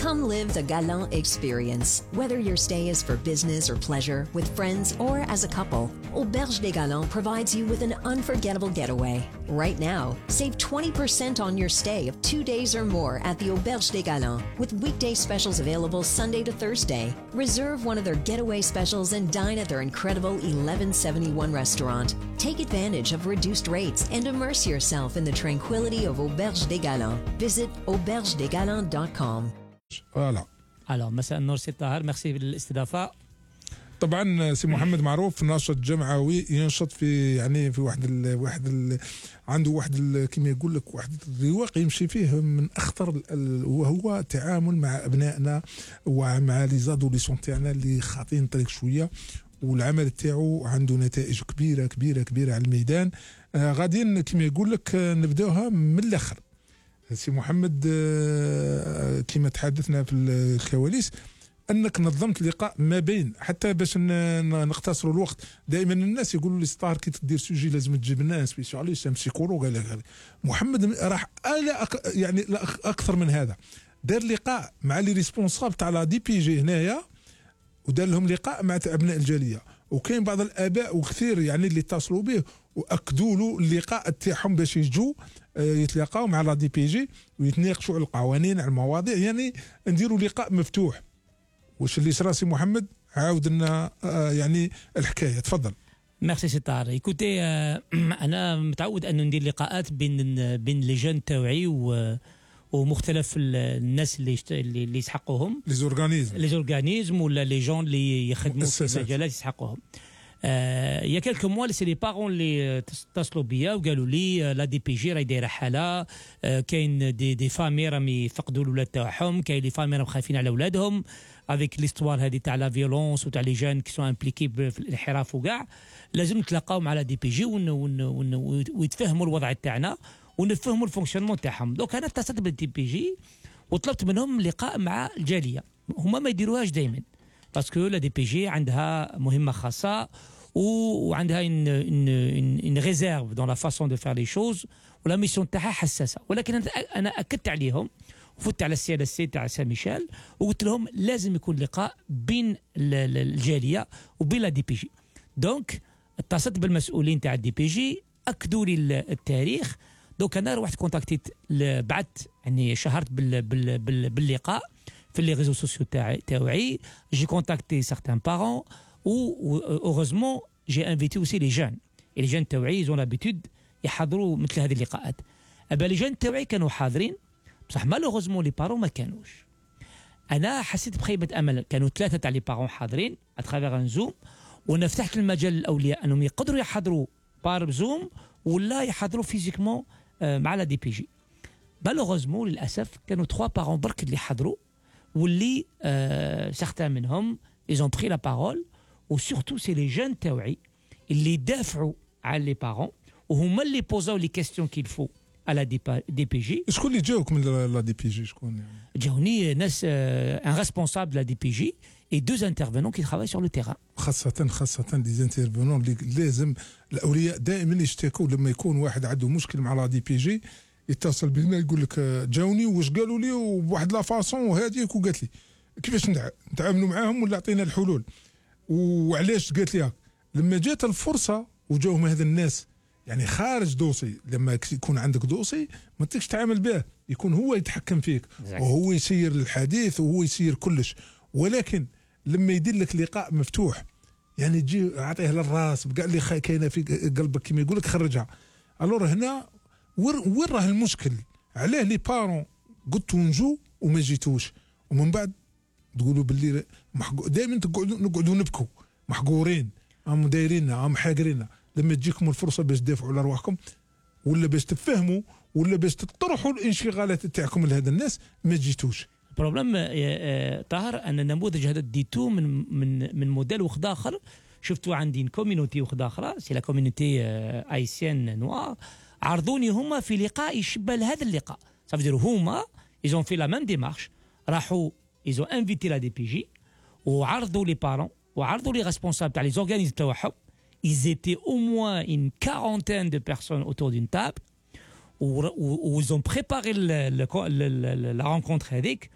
Come live the Galant experience. Whether your stay is for business or pleasure, with friends or as a couple, Auberge des Galants provides you with an unforgettable getaway. Right now, save 20% on your stay of 2 days or more at the Auberge des Galants, with weekday specials available Sunday to Thursday. Reserve one of their getaway specials and dine at their incredible 1171 restaurant. Take advantage of reduced rates and immerse yourself in the tranquility of Auberge des Galants. Visit aubergedesgalants.com. فوالا. Alors مساء النور سي طاهر، ميرسي بالاستضافه. طبعا سي محمد معروف ناشط جمعوي، ينشط في يعني في عنده كما يقول لك واحد الرواق يمشي فيه من اخطر، وهو التعامل مع ابنائنا ومع لي زادوليسون تاعنا اللي خاطين طريق شويه، والعمل تاعو عنده نتائج كبيره كبيره كبيره على الميدان. غاديين كما يقول لك نبداوها من الاخر. سي محمد، كما تحدثنا في الكواليس انك نظمت لقاء ما بين، حتى باش نختصروا الوقت، دائما الناس يقولوا لي ستار كي تدير سوجي لازم تجيب ناس سبيسياليست سيكولوج. قال لك محمد راح يعني اكثر من هذا، دار لقاء مع لي ريسبونسابل تاع لا دي بي جي هنايا، ودار لهم لقاء مع ابناء الجاليه، وكاين بعض الاباء وكثير يعني اللي اتصلوا به واكدوا له اللقاء تاعهم باش يجوا يتلاقاو مع لا دي بي جي ويتناقشوا على القوانين، على المواضيع، يعني نديروا لقاء مفتوح. واش اللي صرا سي محمد؟ عاود لنا يعني الحكايه، تفضل. ميرسي سي طاهر. ايكوتي، انا متعود انه ندير لقاءات بين لي جون تاوعي ومختلف الناس اللي يسحقوهم، لي زورغانيزم ولا لي جون اللي يخدموا في مجالات يسحقوهم. يا كلكو موا سي لي بارون اللي اتصلوا بيا وقالوا لي لا دي بي جي راهي دايره حاله، كاين دي فامي راهم يفقدوا الاولاد تاعهم، كاين لي فامي راهم خايفين على اولادهم افيك ليستوار هذه تاع لا فيولونس وتاع لي جون كي سون امبليكي في الانحراف وكاع. لازم نتلاقاو مع لا دي بي جي ويتفهموا الوضع تاعنا ونفهموا الفونكسيونمون تاعهم. دونك انا اتصلت بالدي بي جي وطلبت منهم لقاء مع الجاليه. هما ما يديروهاش دائما باسكو لا دي بي جي عندها مهمه خاصه وعندها une réserve dans la façon de faire les choses، ولا ميسيون تاعها حساسه. ولكن انا اكدت عليهم وفت على السي اس سي تاع سان ميشيل وقلت لهم لازم يكون لقاء بين الجاليه وبين لا دي بي جي. دونك اتصلت بالمسؤولين تاع الدي بي جي، اكدوا لي التاريخ. دونك انا روحت كونتاكتيت، بعثت يعني شهرت باللقاء في لي ريزو سوسيو تاعي. جي كونتاكتي سارتان بارون و heureusement j'ai invité aussi les jeunes. et les jeunes تاوعي ils ont l'habitude يحضروا مثل هذه اللقاءات. أبا les jeunes تاوعي كانوا حاضرين بصح malheureusement les parents ما كانوش. أنا حسيت بخيبة أمل. كانوا 3 تاع les parents حاضرين à travers un zoom، وأنا فتحت المجال للأولياء أنهم يقدروا يحضروا بار زوم ولا يحضروا فيزيكمون مع لا دي بي جي. malheureusement للأسف كانوا 3 parents برك اللي حضروا، واللي certains منهم ils ont pris la parole. وسورتو سي لي جون تاوعي اللي دافعوا على لي بارون وهما اللي بوزاو لي كيستيون كيل فو على دي بي جي. شكون اللي جاوك من لا دي بي جي؟ شكون يعني؟ جاوني ناس ان ريسبونسابل لا دي بي جي اي 2 انترفينون كي ترافاي سور لو تيران. خاصة دي انترفينون اللي لازم الاولياء دائما يشتكوا لما يكون واحد عنده مشكل مع لا دي بي جي، يتصل بنا يقول لك جاوني واش قالوا لي وبواحد لا فاصون وهذيك وقالت لي كيفاش نتعاملوا معاهم ولا عطينا الحلول. وعلاش قالت لي لما جات الفرصه وجاهم هذا الناس يعني خارج دوسي، لما يكون عندك دوسي ما تقدرش تتعامل به، يكون هو يتحكم فيك وهو يسير الحديث وهو يسير كلش. ولكن لما يدير لك لقاء مفتوح يعني تجي عطيه للراس بكاع اللي كاينه في قلبك كما يقول لك خرجها. الور هنا وين راه المشكل؟ علاه لي بارون قلتوا نجوا وما جيتوش، ومن بعد تقولوا باللي دائما نقعدوا نبكوا محقورين، هم دايريننا، هم حاقريننا. لما تجيكم الفرصه باش تدافعوا على ارواحكم ولا باش تفهموا ولا باش تطرحوا الانشغالات تاعكم لهذا الناس ما جيتوش. البروبليم طاهر ان النموذج هذا ديتو من موديل واحد اخر شفتوا عندي كوميونيتي واحده اخرى سي لا كوميونيتي ايسيان نوار عرضوني هما في لقاء يشبه لهذا اللقاء صافي هما ايزون في لا ميم ديمارش راحوا ايزون انفيتي لا دي بي جي وعرضوا لي بارون وعرضوا لي ريسبونسابل تاع لي زورغانيزم تاعهم ils étaient au moins une quarantaine de personnes autour d'une table où ils ont préparé la rencontre هذيك